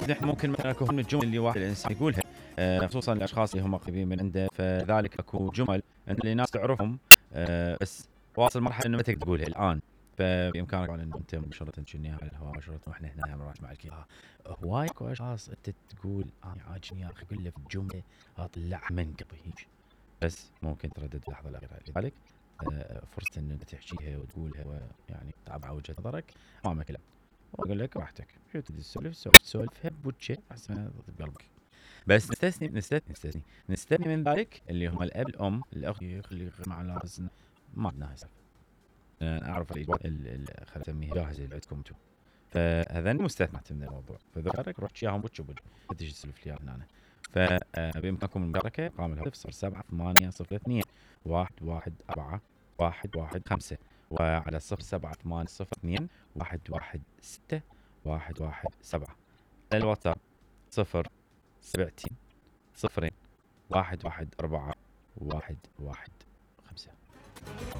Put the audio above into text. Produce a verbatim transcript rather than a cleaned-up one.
نحن ممكن مثلا اكو من الجمل اللي واحد الانسان يقولها أه خصوصا الاشخاص اللي هم قريبين من عنده، فذلك اكو جمل انت اللي ناس تعرفهم أه بس واصل مرحله انه ما تقدر تقولها الان، فبامكانك ان انت مباشره تشنيها على الهواء مباشره واحنا هنا مرات مع الكل. هواي اكو اشخاص انت تقول انا عاجبني يا اخي اقول له في الجمله اطلعها من قلبي بس ممكن تردد اللحظه الاخيره. لذلك أه فرصه ان انت تحكيها وتقولها ويعني تعبر وجهه نظرك امامك لا واقول لك راحتك شو تريد تسولف سولفها بوجه احسن بقلبك. بس نستثني نستثني نستثني نستثني من ذلك اللي هم الاب الام الاخ اللي مع ناس ما عندنا هسه. انا اعرف الاجابات خلينا نسميها جاهزه اللي عندكم انتم، فهذا مستثنات من الموضوع، فذكرك روح اياهم وجه بوجه لا تجي تسولف لي هنا. فبامكانكم المشاركه رقم الهاتف صفر سبعة ثمانية صفر اثنين واحد واحد أربعة واحد واحد خمسة وعلى صفر سبعة ثمانية صفر اثنين واحد واحد ستة واحد واحد سبعة. الواتساب صفر سبعتين صفرين واحد واحد أربعة واحد واحد خمسة.